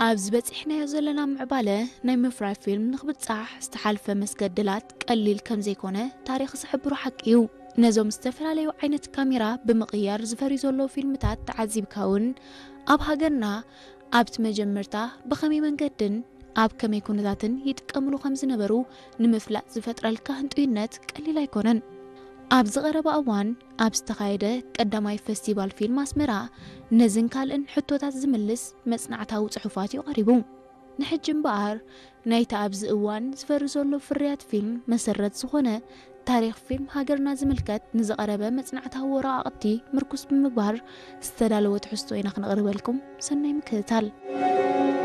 ኣብዚ በጺሕናዮ ዘለና ምዕባለ ናይ ምፍራይ ፊልም ንኽብጻሕ ዝተሓልፈ መስገድላት ቀሊል ከም ዘይኮነ ታሪኽ ዝሕብሮ ሓቂ እዩ። ነዞም ዝተፈላለዩ ዓይነት ካሜራ ብምቕያር ዝፈርዩ ዘለዉ ፊልምታት ተዓዚብካ እውን፣ ኣብ ሃገርና ኣብቲ መጀመርታ ብኸመይ መንገድን ኣብ ከመይ ኩነታትን ይጥቀምሉ ከም ዝነበሩ ንምፍላጥ ዝፈጥረልካ ህንጡይነት ቀሊል ኣይኮነን። ኣብ ዝቐረበ እዋን ኣብ ዝተኻየደ ቀዳማይ ፈስቲቫል ፊልም ኣስመራ፣ ነዝን ካልእን ሕቶታት ዝምልስ መጽናዕታዊ ጽሑፋት እዩ ቀሪቡ። ንሕጂ እምበኣር፣ ናይቲ ኣብዚ እዋን ዝፈሪ ዘሎ ፍርያት ፊልም መሰረት ዝኾነ ታሪኽ ፊልም ሃገርና ዝምልከት ንዝቐረበ መጽናዕታዊ ወረቓቕቲ ምርኩስ ብምግባር ዝተዳለወ ትሕዝቶ ኢና ክነቕርበልኩም። ሰናይ ምክትታል።